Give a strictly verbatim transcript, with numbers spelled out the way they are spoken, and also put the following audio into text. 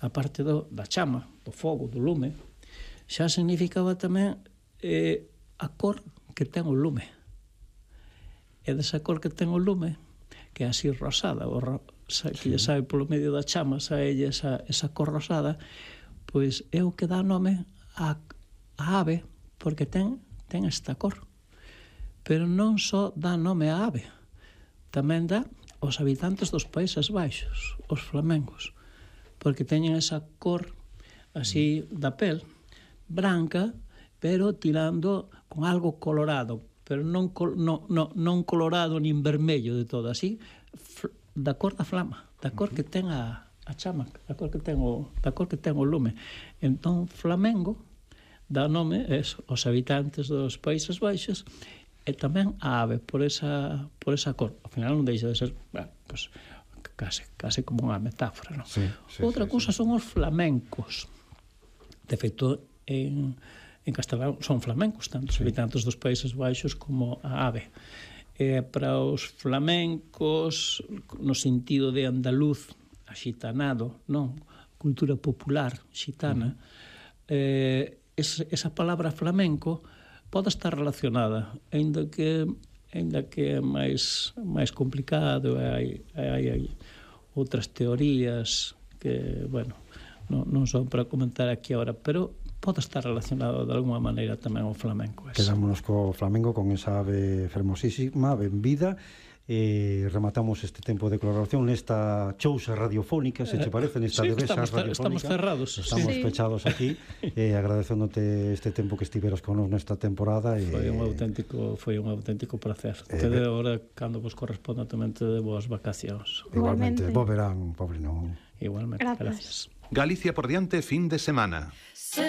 a parte do, da chama, do fogo, do lume, xa significaba tamén eh, a cor que ten o lume. E desa cor que ten o lume, que é así rosada, o ro, que lle sabe polo medio da chama, sabe esa, esa cor rosada, pois é o que dá nome a, a ave, porque ten, ten esta cor. Pero non só dá nome a ave, tamén dá aos habitantes dos Países Baixos, os flamencos, porque teñen esa cor así da pel, branca, pero tirando con algo colorado, pero non, non, non, non colorado nin vermello de todo, así, da cor da flama, da cor que ten a, a chama, da cor que ten o, da cor que ten o lume. Entón, flamengo dá nome es, aos habitantes dos Países Baixos e tamén a ave, por esa, por esa cor. Ao final non deixa de ser, bueno, pues, case, case como unha metáfora, non? Sí, sí, Outra sí, cousa sí. son os flamencos. De feito, en, en castelán son flamencos, tanto os sí. habitantes dos Países Baixos como a ave. E para os flamencos, no sentido de andaluz, axitanado, non? Cultura popular xitana, uh-huh. eh, es, esa palabra flamenco pode estar relacionada, ainda que ainda que é máis máis complicado, hai, hai, hai outras teorías que, bueno, non, non son para comentar aquí agora, pero pode estar relacionado de alguma maneira tamén ao flamenco. Quedámonos co flamenco, con esa ave fermosísima, benvida, e rematamos este tempo de colaboración nesta chousa radiofónica, se te parece, nesta sí, devesa estamos, radiofónica. Estamos cerrados. Estamos sí. pechados aquí, e agradecéndote este tempo que estiveras con nos nesta temporada. E... Foi un auténtico, foi un auténtico placer. Eh, te de agora, cando vos corresponda, tamén te de boas vacacións. Igualmente, bo verán, pobre non. Igualmente, gracias. Galicia por diante, fin de semana.